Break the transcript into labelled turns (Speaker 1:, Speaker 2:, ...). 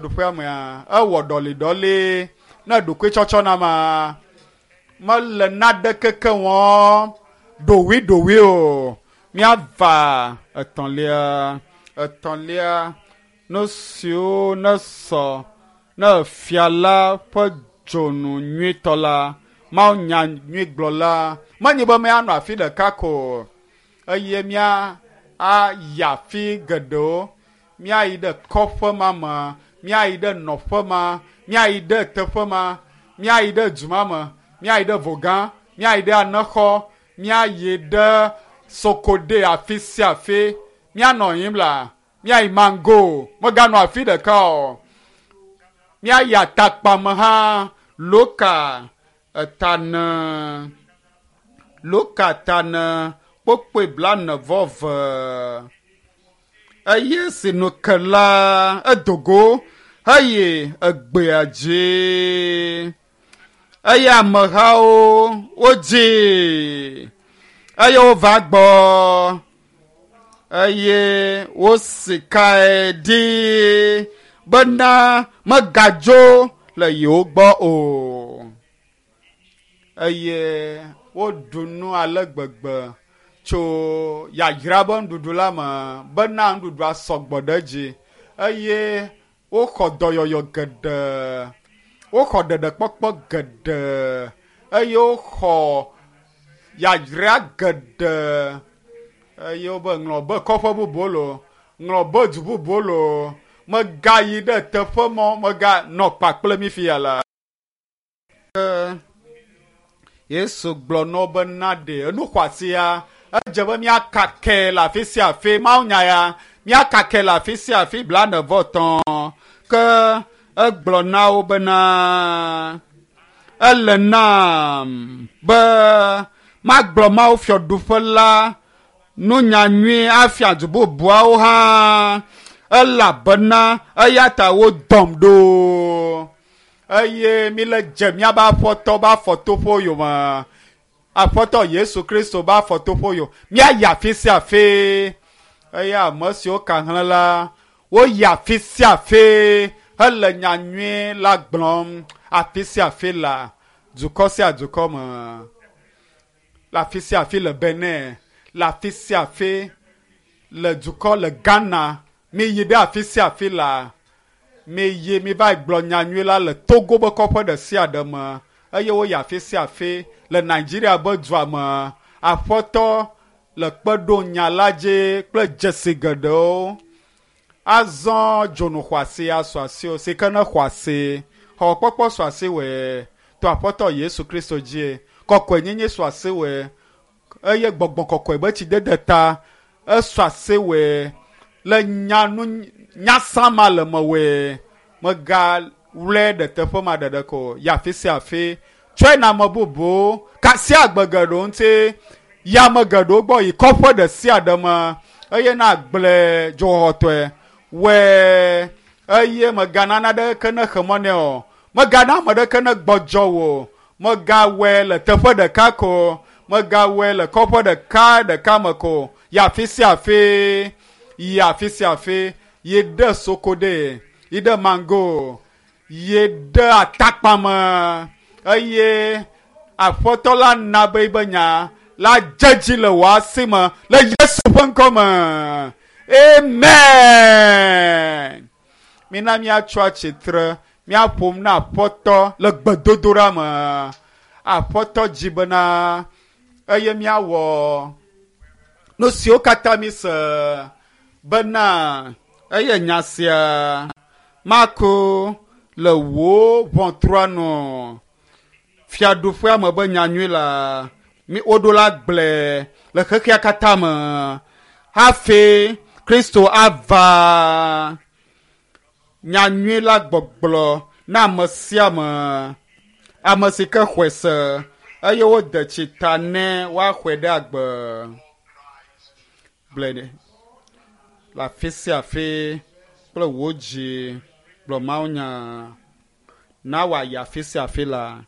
Speaker 1: Ɖuƒea mea, ewɔ ɖɔliɖɔli ne ɖokuitsɔtsɔ na ma mele naɖeke ke wɔm ɖowiɖowi o. Míava etɔ̃lia, etɔ̃lia nu siwo nesɔ ne fia la ƒe dzonu nyuitɔ la, Mawu nya nyui gblɔla. Menye be míanɔ afi ɖeka ko o, eye mía ayi afi geɖewo. Míayi ɖe kɔƒe ma me, míayi ɖe nɔƒe ma, míayi ɖe teƒe ma, míayi ɖe du ma me, míayi ɖe Vogã, míayi ɖe Anexɔ, míayi ɖe Sokode afi sia afi. Míanɔ yiyim la, míayi Mango, meganɔ afi ɖeka o. Míayi Atakpame hã, Loka etane, Loka tane kpokpoe blane vɔ ve. Eye si nu ke la, edo go heyi egbea dzi. Eye amehawo wodzii eye wova gbɔ eye wosikae ɖi bena megadzo le yewo gbɔ o. Eye woɖu nu ale gbegbe tso yayra be nuɖuɖu la me bena nuɖuɖua sɔgbɔ ɖe edzi eye woxɔ dɔyɔyɔ geɖe, woxɔ ɖeɖekpɔkpɔ geɖe eye woxɔ yayra geɖe eye wobe ŋlɔ be kɔƒe bubuwo loo, ŋlɔ be du bubuwo loo, megayi ɖe teƒe mɔ, meganɔ kpakple mi fia la. Ke Yesu gblɔ na wo be na ɖe enu xɔasia, edze be míakakɛ le afi sia afi, mawunya ya, míakakɛ le afi sia afi blane vɔ tɔ̃. Ke egblɔ na wo bena, ele nam be magblɔ Mawu fiaɖuƒe la nunya nyui afia du bubuawo hã, elabena eya ta wodɔm ɖo. Eye míle dze míabe Aƒetɔ be afɔtoƒewo yome, Aƒetɔ Yesu Kristo be afɔtoƒewo yome. Míayi afi sia afi. Eye ame siwo ka hlẽ la, woyi afi sia afi hele nya nyui la gblɔm afi sia afi le dukɔ sia dukɔ me, le afi sia afi le Benin, le afi sia afi le dukɔ le Ghana. Miyi ɖe afi sia afi la, miyi miva gblɔ nya nyui la le Togo be kɔƒe ɖe sia ɖe me eye woyi afi sia afi le Nigeria be dua me. Aƒetɔ le kpe ɖom nya la dzi kple dzesi geɖewo. Azɔ dzonu xɔasi asu asiwò si ke ne xɔ asi. Xɔxɔkpɔkpɔ su asiwòe to Aƒetɔ Yesu Kristo dzie. Kɔkɔenyenye su asiwòe eye gbɔgbɔ kɔkɔe be tsidede ta esu asiwòe le nya nu nyasã ma le mewòe. Mègawlɔe ɖe teƒe ma ɖeɖe ko o. Yi afi sia afi. Tsɔe na ame bubuwo. Ka asi agbe geɖewo ŋuti. Yi ame geɖewo gbɔ. Yi kɔƒe ɖe sia ɖe me eye nagblɔe dzoxɔxɔtɔe. Wɔe eye mègana naɖeke nexe mɔ nɛ o. Mègana ame ɖeke negbɔdzɔ wò o. Mègawɔe le teƒe ɖeka ko o. Mègawɔe le kɔƒe ɖeka ɖeka me ko o. Yi afi sia afi. Yi afi sia afi. Yi ɖe Sokode, yi ɖe Mango, yi ɖe Atakpame eye Aƒetɔ la na be yibe nya la dze dzi le wò asi me le Yesu ƒe ŋkɔ me. Amen. Mina míatso atsitre míaƒom na Aƒetɔ le gbedodoɖa me. Aƒetɔ dzi bena eye míawɔ nu siwo katã míse bena eye nya sia mako le wò ʋɔtrua nu. Fiaɖuƒea me be nyanyui la, mi woɖo la gblɔe le xexea katã me hafi Kristo ava. Nyanyui la gbɔgblɔ na ame sia ame, ame si ke xɔe se eye wode tsi ta nɛ woaxɔe ɖe agbe. Gblɔe ɖe le afi sia afi kple wò dzi gblɔ mawunya. Na wòayi afi sia afi la.